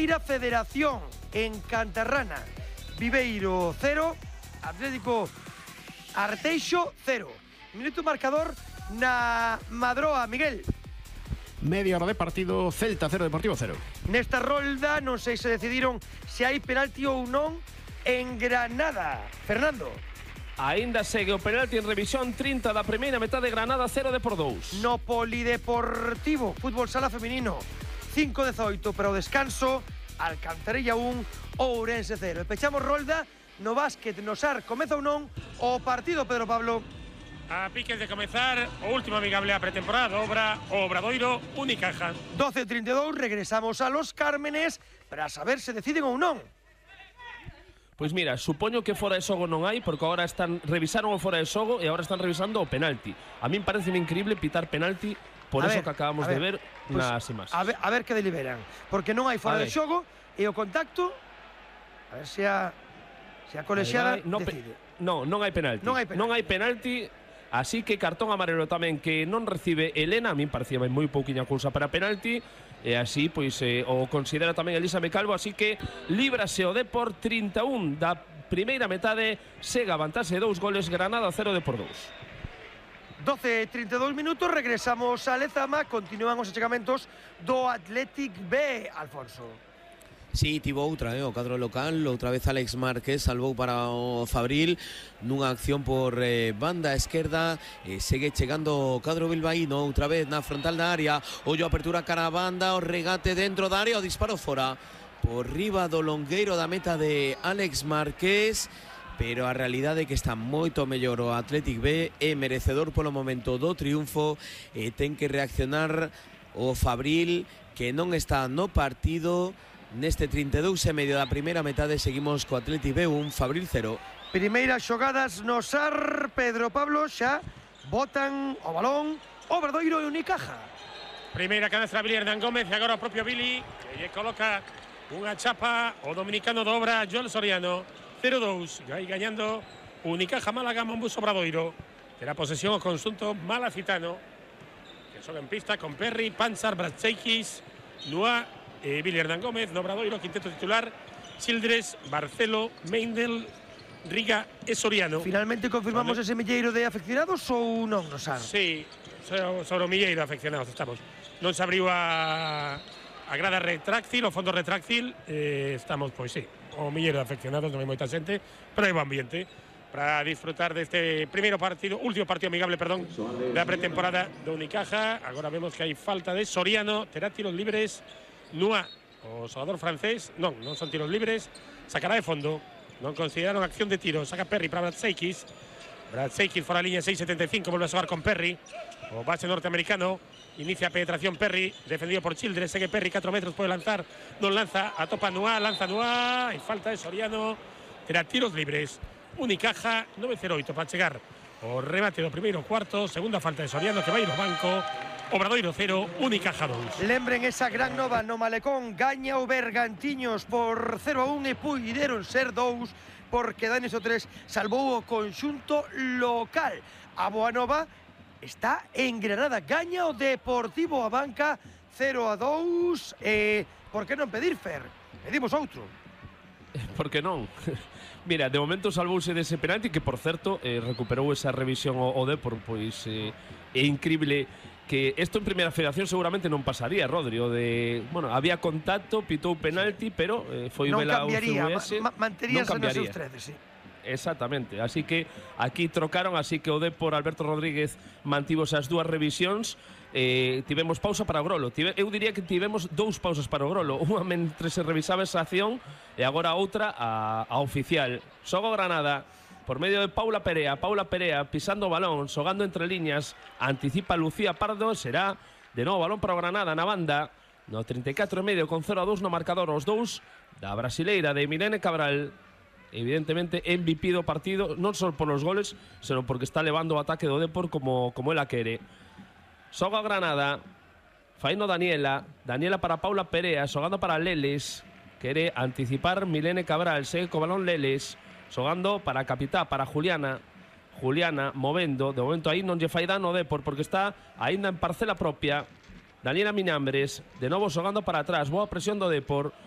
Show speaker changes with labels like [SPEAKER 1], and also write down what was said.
[SPEAKER 1] Primeira Federación en Cantarrana. Viveiro 0, Atlético Arteixo 0. Minuto marcador na Madroa, Miguel.
[SPEAKER 2] Media hora de partido, Celta 0, Deportivo 0.
[SPEAKER 1] Nesta rolda non sei se decidiron se hai penalti ou non en Granada. Fernando.
[SPEAKER 3] Aínda segue o penalti en revisión 30 da primeira metade, Granada 0 de por 2.
[SPEAKER 1] No Polideportivo, fútbol sala feminino, 5-18 para o descanso, Alcantarilla 1, Ourense 0. E pechamos rolda no básquet, no SAR. Comeza ou non o partido, Pedro Pablo?
[SPEAKER 4] A piques de comezar o último amigable a pretemporada obra o Obradoiro Unicaja.
[SPEAKER 1] 12:32, regresamos a Los Cármenes para saber se deciden ou non.
[SPEAKER 3] Pois mira, supoño que fora de xogo non hai, porque agora revisaron o fora de xogo e agora están revisando o penalti. A min pareceme increíble pitar penalti por eso que acabamos de ver nas imaxes.
[SPEAKER 1] A ver que deliberan, porque non hai fora de xogo e o contacto, a ver se a colexiada decide.
[SPEAKER 3] Non hai penalti. Non hai penalti, así que cartón amarelo tamén que non recibe Elena. A min parecía moi pouquiña cousa para penalti. E así, pois, o considera tamén Elisa Mecalvo. Así que líbrase o Depor 31 da primeira metade. Sega vantaxe 2 goles, Granada 0 de por 2.
[SPEAKER 1] 12:32 minutos, regresamos a Lezama. Continúan os achegamentos do Athletic B, Alfonso.
[SPEAKER 5] Sí, tivo outra, o cadro local. Outra vez Alex Márquez salvou para o Fabril nunha acción por banda esquerda. Segue chegando o cadro bilbaíno outra vez na frontal da área. Ollo, apertura cara a banda, o regate dentro da área, o disparo fora por riba do longueiro da meta de Alex Márquez. Pero a realidade é que está moito mellor o Athletic B, é merecedor polo momento do triunfo, e ten que reaccionar o Fabril, que non está no partido. Neste 32 e medio da primeira metade seguimos co Athletic B 1, Fabril 0.
[SPEAKER 1] Primeiras xogadas no SAR, Pedro Pablo, xa botan o balón Obradoiro e Unicaja.
[SPEAKER 4] Primeira canastra Billy Hernán Gómez e agora o propio Billy, que lle coloca unha chapa o dominicano do Obra, Joel Soriano. 0-2, vai gañando Unicaja Málaga, Monbus Obradoiro. Terá posesión o conxunto malacitano, que xoga en pista con Perry, Panzar, Bratseikis, Nua, Billy Hernán Gómez, no Obradoiro, quinteto titular, Childress, Barcelo, Meindel, Riga e Soriano.
[SPEAKER 1] Finalmente confirmamos ese milleiro de afeccionados ou non, no SAR?
[SPEAKER 4] Sí, sobre o milleiro de afeccionados estamos. Non se abriu a grada retráctil, o fondo retráctil, estamos, pois sí, o milleiro de afeccionados, non hai moita xente, pero hai bo ambiente para disfrutar deste primeiro partido, último partido amigable, perdón, da pretemporada do Unicaja. Agora vemos que hai falta de Soriano, terá tiros libres. Nua, o xogador francés, non son tiros libres, sacará de fondo, non consideraron acción de tiro, saca Perry para Bratseikis fora a liña 6.75, vuelve a xogar con Perry, o base norteamericano, inicia a penetración Perry, defendido por Childress, segue Perry, 4 metros, pode lanzar, non lanza, atopa Nua, lanza Nua, e falta de Soriano, terá tiros libres, Unicaja 9-0-8 para chegar o remate do primeiro cuarto, segunda falta de Soriano que vai no banco. Obradoiro 0, Unicaja 2.
[SPEAKER 1] Lembren esa gran nova no Malecón, gaña o Bergantiños por 0-1 e puideron ser 2 porque Danes o 3 salvou o conxunto local. A boa nova está en Granada, gaña o Deportivo Abanca 0-2. Por que non pedir, Fer? Pedimos outro.
[SPEAKER 3] Por que non? Mira, de momento salvouse dese penalti que, por certo, recuperou esa revisión o Depor, pois é increíble que isto en Primeira Federación seguramente non pasaría, Rodri, había contacto, pitou penalti, pero foi vela UCVS,
[SPEAKER 1] manteríase nos seus tredes, sí.
[SPEAKER 3] Exactamente, así que aquí trocaron, así que o Depor, Alberto Rodríguez, mantivos as dúas revisións. Tivemos pausa para o Grolo. Eu diría que tivemos 2 pausas para o Grolo, unha mentre se revisaba esa acción e agora outra a oficial. Xoga Granada por medio de Paula Perea pisando o balón, xogando entre liñas, anticipa Lucía Pardo, será de novo balón para o Granada na banda, no 34 e medio con 0-2 no marcador, os dous da brasileira de Milene Cabral, evidentemente MVP do partido, non só polos goles, senón porque está levando o ataque do Depor como ela quere. Xoga Granada, faino Daniela para Paula Perea, xogando para Leles, quere anticipar Milene Cabral, segue co balón Leles, xogando para a capitá, para Juliana, movendo, de momento aí non lle fai dano o Depor porque está aínda en parcela propia. Daniela Minambres, de novo xogando para atrás, boa presión do Depor,